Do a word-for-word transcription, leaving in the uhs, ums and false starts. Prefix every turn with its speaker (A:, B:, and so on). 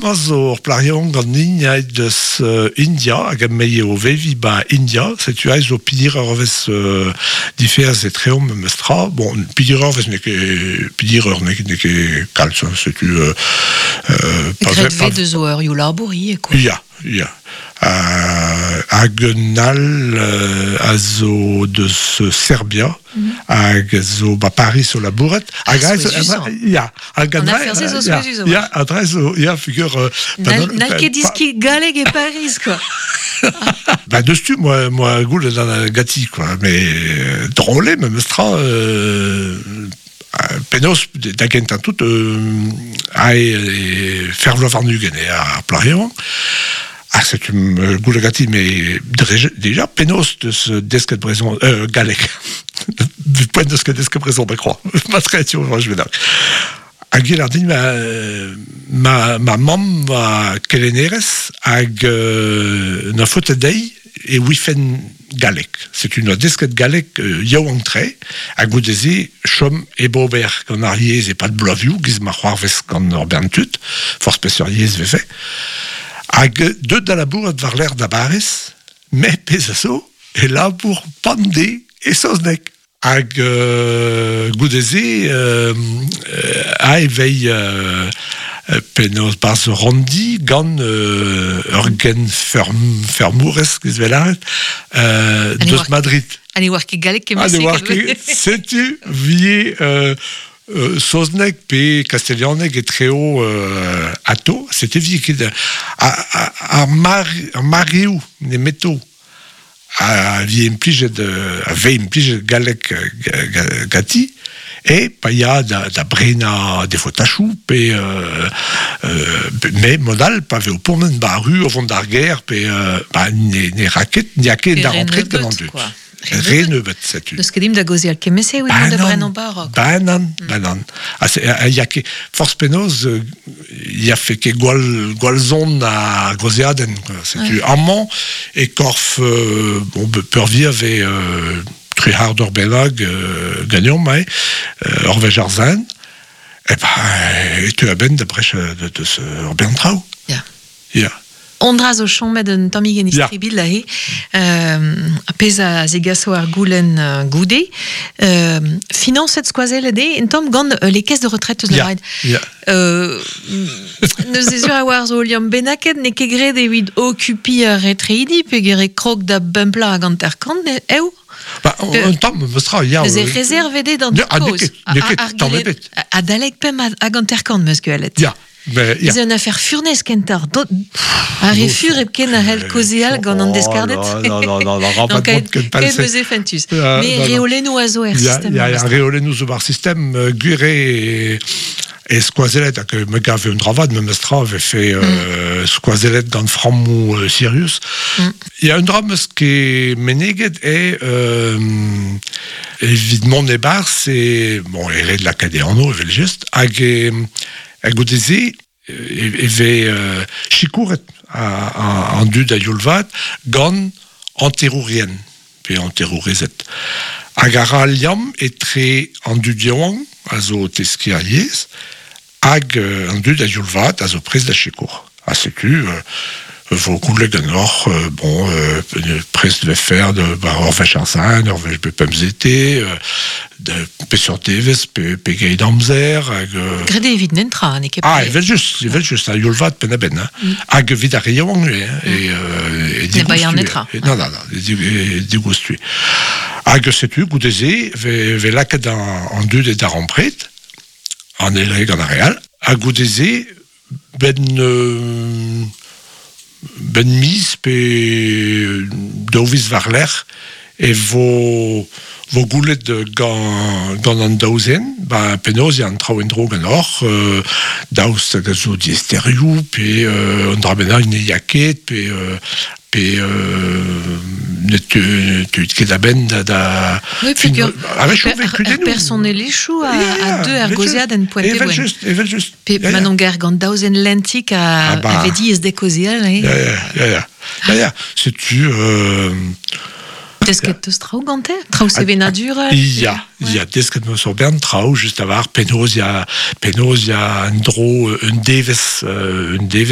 A: Bremañ zo ur plac'h yaouank ganin aet deus euh, India, hag emañ o veviñ ba India, setu aet zo pidir eurvezh euh, diferz etreomp memes tra. Bon, pidir eurvezh n'eo ket pidir eur n'eo ket n'eo ket kalz, hein, setu... Euh, euh, pa
B: Graet
A: ve- pa-
B: vez deus o eurioù labour ivez, quoi.
A: Ya, ya. Euh, hag un all euh, a zo deus Serbia, hag a zo ba Paris o labourat. Hag
B: Ah,
A: a zo-
B: souezhus.
A: Ya, hag
B: An
A: an
B: afer-se zo
A: ya,
B: souezhus,
A: Ya, a dre zo, ya, figur... euh, pa-
B: N'hall n'hall
A: pa-
B: ket diski galleg e Paris, quoi.
A: Ba deus tu, moi, moi goul d'an gati, quoi. Mais euh, drôle, memes tra, euh, euh, penaos da gentañ tout, euh, ae e fer vloaz warn-ugent eo ar plac'h yaouank. Ah, setu euh, goul gati, mais dre- déjà, penaos deus desket brezhon, euh, galleg. Poent deus ket desket brezhon, da kroa. Ma tre, tu vois, je vais dar. Hag il a dit ma, ma, ma mamm va kelennerez hag euh, na faote dezhi e ouifen galleg. C'est une desket galleg euh, yaouank-tre hag goude-se chom e bober gant ar yezh e pad bloavioù giz ma c'hoarvez gant ur bern tud, forzh peseurt yezh vefe. Hag deut da labourat war lec'h da Baris, met pezh a zo, e labour pande e saozneg. Hag euh, goude-se euh, euh, a evei euh, euh, penaos barzh randi gant euh, ur gen ferm, fermourez giz vel aret, euh,
B: Ha ne
A: deus
B: oar-
A: Madrid.
B: Ha ne oar ket galleg
A: Ah, ne oar
B: kement-se.
A: ket, setu vie euh, euh, saozneg pe kastelhaneg e treo euh, ato, c'était vie ket a, a, ar, mar, ar mareoù nemeto a vie implijet euh, a ve implijet galleg euh, ga- ga- gati e pa ya da, da brena defo tachou pe euh, euh, me modal pa ve o pourmen ba ru o vont d'ar ger pe euh, ba ne, ne raket n'y a ket
B: Pe
A: da
B: re
A: rentret gant an
B: nebeut,
A: dud.
B: quoi. Re
A: Re
B: nebeut.
A: nebeut, setu.
B: Deus ket dimp da gaozeal kement-se, evit mont da brenañ barok.
A: Ba nann, ba nann. Ha se- ha ya ket, forzh penaos, euh, ya fe ket gwall, gwall zon a gaozeadenn, quoi. Setu amañ e korf, euh, bon, be- peurvir ve euh, tri c'hard d'ur bennak euh, ganeomp, ae, euh, ur wech ar zen, e ba, e teu a-benn da brech de, de ce ur bern traoù.
B: Ya.
A: Ya.
B: Ondra zo chomet un tammig en
A: Ya.
B: istribil aze, euh, pezh a zegaso ar goulenn euh, goude. Euh, finanset skoazellet eo, un tamm gant euh, les caisses de retraite eus
A: Ya,
B: lavaret.
A: ya.
B: Euh, neus ez ur a war zo liamm bennaket n'eo ket graet evit okupiñ ar retreidi pe gere krog da bempla hag hanter-kant, eo?
A: Ba, un tamm, memes tra, ya.
B: Neuze
A: euh,
B: rezervet eo d'an
A: Ne, ah, n'eo
B: kozh.
A: ket, n'eo ket, tamm ebet.
B: Adalek pemp hag hanter-kant meus gwelet.
A: Ya, mais, ya.
B: Ez un afer furnez kentoc'h. Do- Ar re fur hepken a c'hell kaozeal gant an deskarded.
A: Non, non, non, non,
B: Non,
A: rabat
B: kaet
A: mont ken
B: kaet
A: palse.
B: meus e fentus.
A: Euh,
B: Mais
A: non, non.
B: reolennoù a zo er
A: Ya,
B: sistem.
A: ya, ya, reolennoù zo bar sistem euh, gwir e, e skoazellet hag me gav un dravad memes tra ve fe euh, skoazellet gant frammoù euh, Sirius.
B: Mm.
A: Ya un dra meus ket meneget e euh, evit mont e-barzh e bon, e ret lakaat e anv evel just hag e, hag goude-se e, e ve euh, sikouret a, a, an dud a youl vat gant hanterourien pe hanterourezed. Hag a ra liamm etre an dud yaouank a zo teskiñ ar yezh hag euh, an dud a youl vat a zo prest da sikour. Ha setu euh, vo goulennet ganeoc'h, euh, bon, euh, prest de faire de, ba, ur wech ar sizhun, ur wech bep pemzete, euh, de peseurt devezh, pe, pegeit amzer, hag... Euh,
B: Graet eo evit nentra, n'eo ket
A: Ah,
B: pe-
A: evel just, evel just, a youl vat penn-a-benn, hein. Hag evit ar re yaouank ivez, hein, e, euh, e
B: Ne baean
A: digoustu,
B: netra.
A: e- Non, non, non, e dig- e digoustu. Hag setu, goude-se, ve, ve lakaet an, an dud e darempred, an eil re gant ar re all, ha goude-se, ben, euh, ben miz pe daou viz war-lerc'h e vo, vo goulet gant, gant an daou zen, ba penaos eo an traoù en-dro ganeoc'h, euh, daoust hag a zo diaesterioù, pe euh, an dra bennak ne ya ket, pe, euh, pe euh, ne te, te ket a-benn da... da
B: Oui,
A: fin-
B: peogwir
A: a-wechoù
B: per,
A: vez
B: ar
A: kudennoù.
B: personelezhioù a,
A: Ya, ya,
B: a deu ar
A: evel
B: gaozead
A: just,
B: en poent e
A: Evel
B: boen.
A: just, evel just.
B: Pe
A: Ya, ya.
B: Manon Gar gant daou zen lentik a,
A: Ah bah.
B: a vez diaes de kaozeal, eh?
A: Ya, ya, ya, ya. Ya, ya. Setu... Euh,
B: Desket teus traoù gante? Traoù sevenadurel?
A: Ya, ya, desket meus ur bern traoù, just a-walc'h, penaos ya, penaos ya un dro, un devezh, euh, un devezh